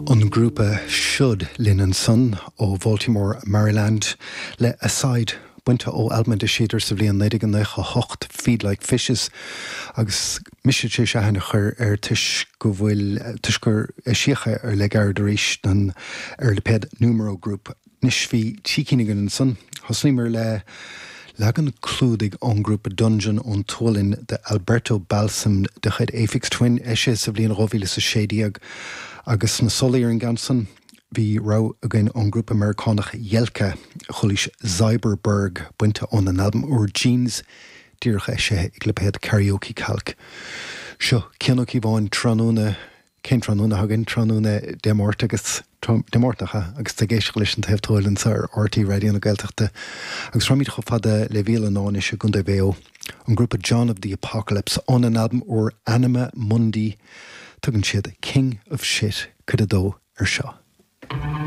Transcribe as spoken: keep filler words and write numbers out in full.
An grúpa Should linn ansan ó Baltimore, Maryland le Aside bainte ó albam a d'eisíodar sa bhliain naoi déag nócha a hocht Feed Like Fishes agus mise sé seahan a chur ar toisc go bhfuil toisc gur eisíodh é le gairid arís don ar lipéad Numero Group. Anois bhí trí cinn againn ansan. Thosnaíomar le leagan clúdaigh ón grúpa Dungeon ón tSualainn de Alberto Balsam de chuid Aphex Twin eisithe sa bhliain dhá mhíle is a sé déag agus sna solaí ar an gceann san bhí rogha againn ón grúpa Meiriceánach Jelka chualaís Zyberberg bainte óna n-albam úr Jeans díreach eisithe ag lipéad Karaoke Calc. Seo Cian Ó Cíobháin tráthnóna cén tráthnóna againn tráthnóna Dé Máirt agus Dé Máirt agus ag éisteacht leis an Taobh Tuathail anseo ar RTÉ Raidió na Gaeltachta agus rachaimid chomh fada le Bhéal an Átha i gContae Mhaigh Eo. An grúpa John of the Apocalypse óna n-albam úr Anima Mundi tugann siad King of Shit cuid a dó ar seo.